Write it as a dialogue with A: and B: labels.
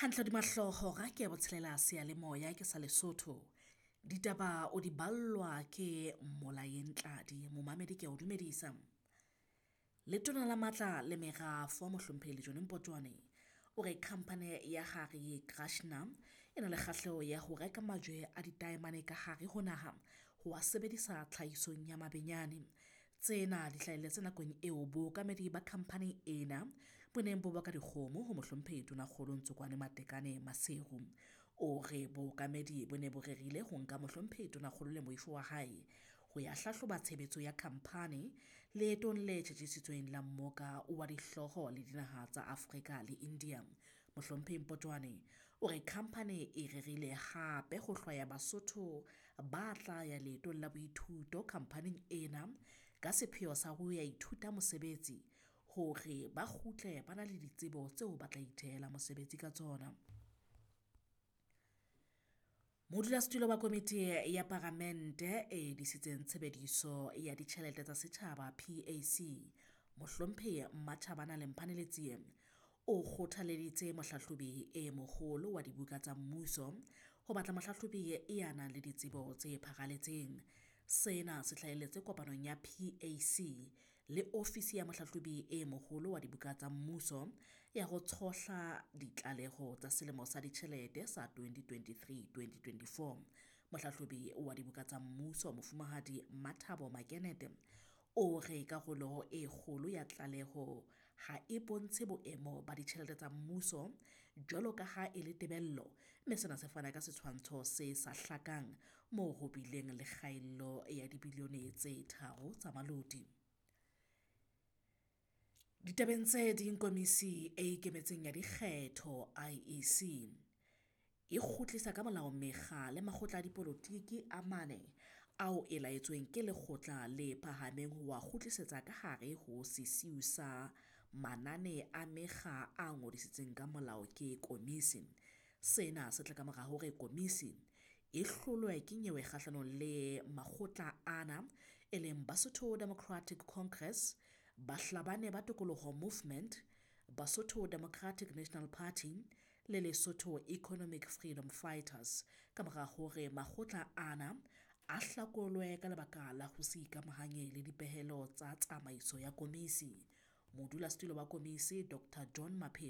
A: Hantle hodima hlooho hora ke ya botshelela seyalemoya ke sa Lesotho. Ditaba o di ballwa ke Molaeng Tladi, momamedi ke a o dumedisa. Letona la Matla le Merafo Mohlomphehi Lejone Mpotjoane o re khampane ya Gare Krashna e na le kgahleho ya ho reka majwe a ditaemane ka hare ho naha ho a sebedisa tlhahisong ya mabenyane. Tsena di hlahelletse nakong eo bookamedi ba khamphani ena bo neng bo baka dikgomo ho Mohlomphehi Tonakgolo Ntsokoane Matekane Maseru. O re bookamedi bo ne bo rerile ho nka Mohlomphehi Tonakgolo le moifo wa hae ho ya hlahloba tshebetso ya khamphani leetong le tjhetjhesitsweng la mmoka wa dihlooho le dinaha tsa Afrika le India. Mohlomphehi Mpotjoane o re khamphani e rerile hape ho hlwaya Basotho ba tla ya leetong la boithuto khamphaning ena ka sepheo sa ho ya ithuta mosebetsi hore ba kgutle ba na le ditsebo tseo ba tla ithehela mosebetsi ka tsona. Modulasetulo wa komiti ya paramente e disitseng tshebediso ya ditjhelete tsa setjhaba PAC, Mohlomphehi Matjhabana Lemphane Letsie o kgothaleditse Mohlahlobi e Moholo wa Dibuka tsa Mmuso ho batla mohlahlobi ya nang le ditsebo tse pharaletseng. Sena se hlahelletse kopanong ya PAC le ofisi ya Mohlahlobi e Moholo wa Dibuka tsa Mmuso ya ho tshohla ditlaleho tsa selemo sa ditjhelete sa 2023-2024. Mohlahlobi wa Dibuka tsa Mmuso Mofumahadi Mathabo Makenete o re karolo e kgolo ya tlaleho ha e bontshe boemo ba ditjhelete tsa mmuso jwalo ka ha e le tebello, mme sena se fana ka setshwantsho se sa hlakang moo ho bileng le kgaello ya dibilione tse 3 tsa maloti. Ditabeng tse ding, Komisi e Ikemetseng ya Dikgetho IEC e kgutlisa ka molao mekga le makgotla a dipolotiki a mane ao e laetsweng ke Lekgotla le Phahameng ho a kgutlisetsa ka hare ho sesiu sa manane a mekga a ngodisitsweng ka molao ke komisi. Sena se tla kamora hore komisi e hlolwe ke nyewe kgahlanong le makgotla ana e leng Basotho Democratic Congress, Bahlabane ba Tokoloho Movement, Basotho Democratic National Party le Lesotho Economic Freedom Fighters kamora hore makgotla ana a hlakolwe ka lebaka la ho se ikamahanye le dipehelo tsa tsamaiso ya komisi. Modulasetulo wa komisi Dr John Maphephe